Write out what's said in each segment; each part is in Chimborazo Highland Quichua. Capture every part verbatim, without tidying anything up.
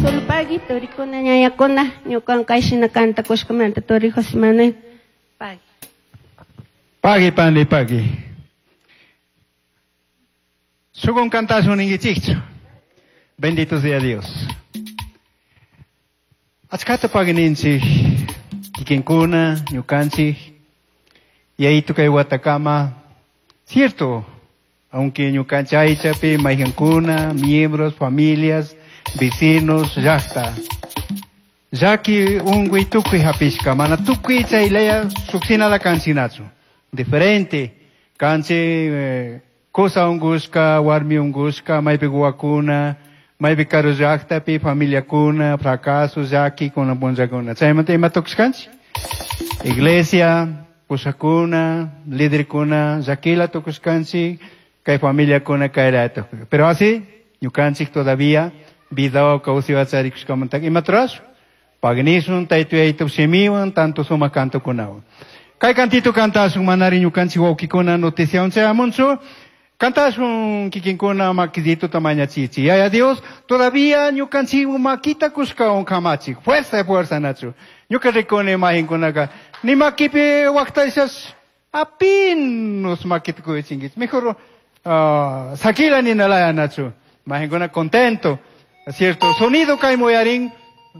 Solo pagui, turikuna ñañakuna, ñukan kayshina kantakushkamanta turi José Manuel. Pagui. Pagui, pani, pagui. Sukun kantasun ninkichikchu. Bendito sea Dios. Achkata pagui ninchik, kikinkuna, ñukanchik, yayito kay watakama. Cierto, aunque ñukanchik aychapi, mayqankuna, miembros, familias, vecinos, llaqta. Llaki unkuy tukuy hapishka, mana tukuy chaylaya suksinala kanchinachu. Diferente, kanchik eh, kusa unkushka, warmi unkushka, maypi wawakuna, maypi karu llaqtapi, familiakuna, fracaso, llaki, kuna punllakuna. Chaymanta ima tukushkanchik? Iglesia, pushakuna, liderkuna, llakila tukushkanchik, kay familiakuna kaylaya tukushka. Pero así, ñukanchik todavía, vida kawsayta charikushkamanta imata rurashun? Pagnisun, taytu yaytu shimiwan, tanto sumak cantokunawan. Kay cantito kantasun manari ñukanchik wawkikuna noticiawan chayamunchu, kantasun kikinkuna makidito tamañachichi. Yaya Dios, todavía ñukanchik makita kushkawan kamachik, fuerza fuerza nachu. Ñuka rikuni mayqinkunaka, ni makipi waqtashas apenas makita kuyuchinkichik. Mejor uh, sakila ninalaya nachu. Mayqinkuna contento. Cierto, sonido kay muyarin,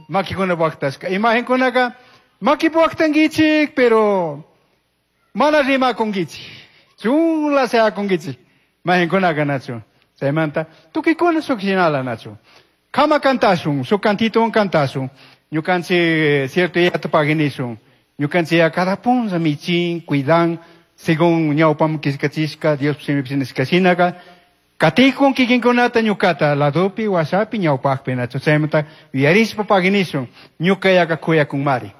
makikuna waqtashka. Imagenkunaka, makipi waqtankichik, pero mana rimakunkichik. Chunla seakunkichik. Mayqinkunaka nachu. Chaymanta, tukuykuna suk shinala nachu. Kama kantasun, suk cantito kantasun. Ñukanchik cierto yata paginisun. Ñukanchik ya cada punlla michin, cuidan, según ñawpam killkachishka, Dios shimipi nishka katikun kikinkunata ñukata ladopi, washapi, ñawpaqpi nachu. Chaymanta yuyarishpa paginisun, ñuka yaka kuyakunmari.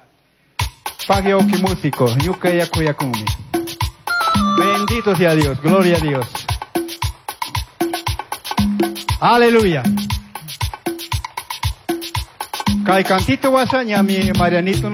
Pagui wawki músico, ñuka ya kuyakunmi. Bendito sea Dios, gloria a Dios. Aleluya. Kay cantito washa ñami Marianito.